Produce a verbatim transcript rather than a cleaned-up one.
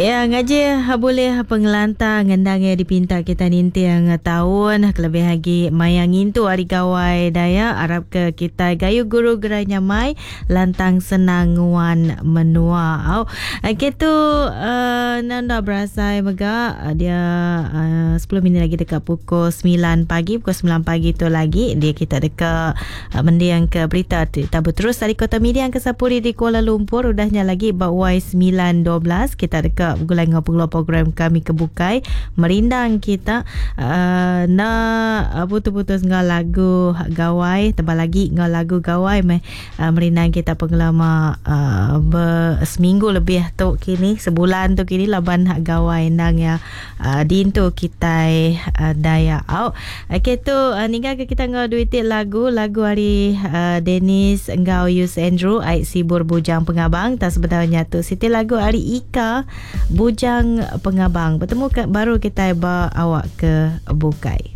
Ya ngaji boleh pengelantang ngendang ya dipinta kita ninting tahun kelebih lagi maya ngintu hari gawai daya arap ke kita gayu guru gerai nyamai lantang senang nguan menua. Au okay tu uh, nanda berasai mega dia uh, sepuluh minit lagi dekat pukul sembilan pagi, pukul sembilan pagi tu lagi dia kita dekat uh, mendiang ke berita kita berterus dari Kota Miri ke Sapuri di Kuala Lumpur udahnya lagi bak Y sembilan dua belas kita dekat gulai ngau pengeluar program kami kebukai merindang kita uh, nak putus-putus ngau lagu gawai tebal lagi ngau lagu gawai meh uh, merindang kita pengelama uh, ber, seminggu lebih tu kini sebulan tu kini laban hak gawai nang ya uh, dintu kita uh, daya au. Okey tu uh, ninggal ke kita ngau duit lagu lagu hari uh, Dennis ngau Yus Andrew ai Sibur Bujang Pengabang tak sebenarnya tu siti lagu hari Ika Bujang Pengabang. Bertemu ke, baru kita ba awak ke bukai.